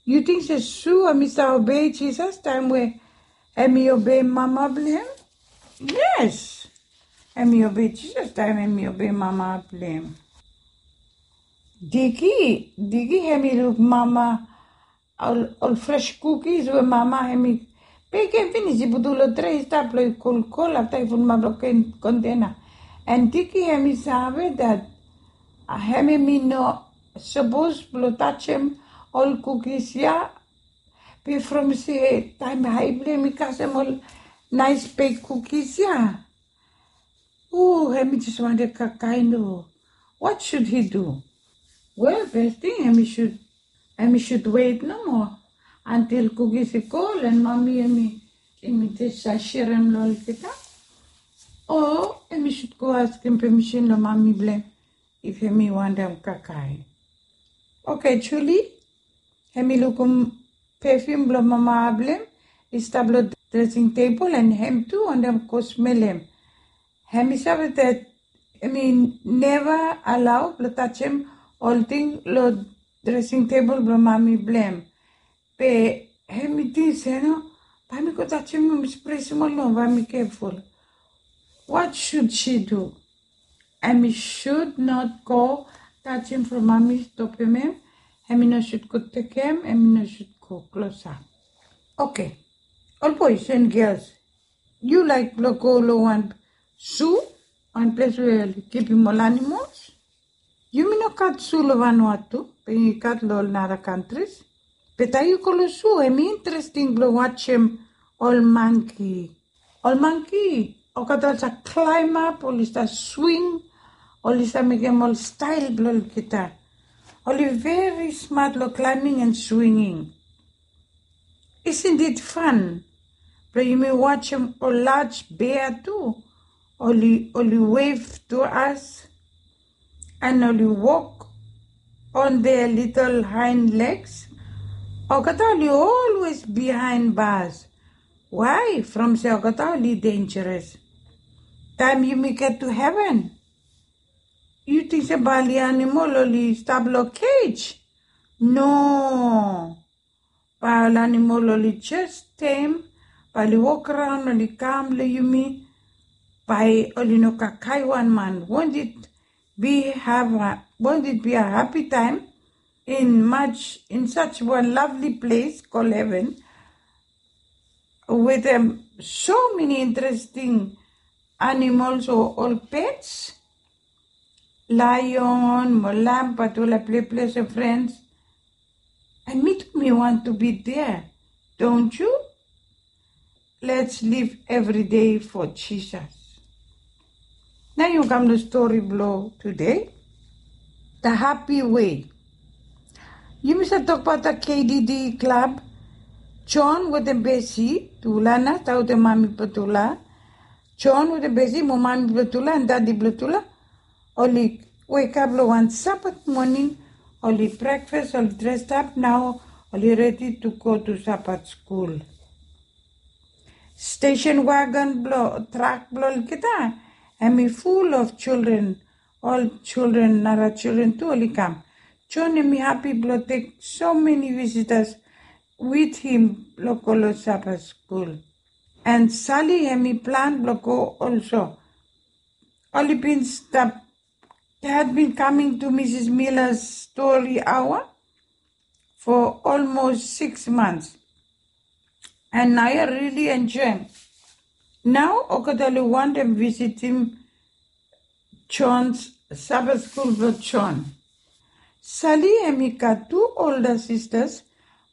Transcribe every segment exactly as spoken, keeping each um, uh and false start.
Yu ting se Su hemi save obei Jisas taem we hemi obei mama blong hem? Yes. Hemi obei Jisas taem hemi obei mama blong hem. Diki, Diki hemi luk mama ol, ol fres kukis we mama hemi bekem finis, i putum lo tre i stap lo i kolkol afta i putum lo kontena. An Diki hemi save dat, a, hemi no sapos blo tajem ol kukis ya. Be from se taem hae blong hem i kasem ol naes bek kukis ya. O, hemi jes wantem kakae nomo. What should he do? Wel, fes ting hemi sud, hemi sud wet nomo antil kukis i kol an mami hemi, hemi jes serem lo olgeta. O hemi sud go askem pemisin lo mami blong hem if hemi wantem kakae. Oke, Juli, hemi lukum pefum blo mama blong hem i stap lo dresing tebol an hem tu wantem go smelem. Hemi save dat hemi neva alao blo tajem ol ting lo dresing tebol blo mami blong hem. Be hemi ting se no, bae mi go tajem nomo, spre smol nomo, bae mi keful. What should she do? Hemi should not go tajem from mami stopem hem. Hemi no should go tekem, hemi no should go klosap. Oke. Ol boes an gels, yu laek blo go lo wan su, wan ples we oli kipim ol animols? Yumi no gat su lo Vanuatu, be yumi gat lo ol nara kantris. Be taem yu go lo su, hemi interesting blo wajem ol mangki. Ol mangki, olgeta oli save klaemap, oli save swing, oli save mekem ol stael blo olgeta. Oli veri smat lo klaeming an swinging. Isn't it fun? Blo yumi wajem ol laj bea tu, oli, oli wave to us, an oli wok on their little hind legs. Olgeta oli always behind bars. Why? From se olgeta oli dangerous. Taem yumi get to heven, yu ting se bae ol animol oli stap lo cage? No. Bae ol animol oli jes tem, bae oli wok raon, oli kam lo yumi, bae oli no kakae wan man. Won't it be have a, won't it be a happy time in much, in such one lovely place called heaven, with, um, so many interesting animals or, or pets? Lion mo lamb, but ol pleplese friends. And mi tu mi want to be there, don't you? Let's live every day for Jesus. Nao yu kam lo stori blo tude, The Happy Way. Yumi save tokbaot K D D Club. John wetem Besi, tufala nao, tufala wetem mami blo tufala. John wetem Besi mo mami blo tufala and dadi blo tufala oli wekap lo wan Sabat moning, oli brekfas, oli dresap nao, oli redi tu go tu Sabat skul. Stesen wagon blo trak blo olgeta hemi full of children. Ol children, nara children tu oli kam. John hemi hapi blo tek so many visitors with him blo go lo Sabat skul. And Sally hemi plan blo go also. Oli bin stap, they had been coming to Mrs Miller's story hour for almost six months. And nao oli really enjoem. Nao olgeta oli wantem visitim John's Sabat skul blo John. Sally hemi gat tu older sisters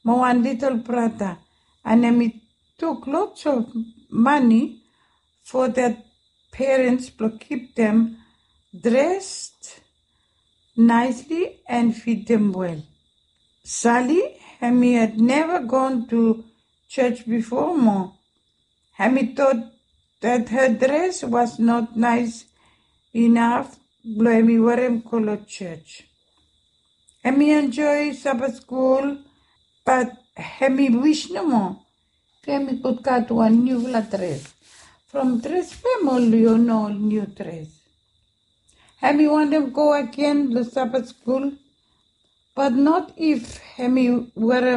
mo wan litel brata, and hemi tok lots of money for their parents blo kip dem dressed nicely and feed dem well. Sally hemi had never gone to church before mo hemi thought that her dress was not nice enough blo hemi werem go lo church. Hemi enjoy Sabat skul, but hemi wis nomo hemi gud gat wan niufala dres. From dres famili oli no niu dres. Hemi wantem go agen lo Sabat skul, but not if hemi werem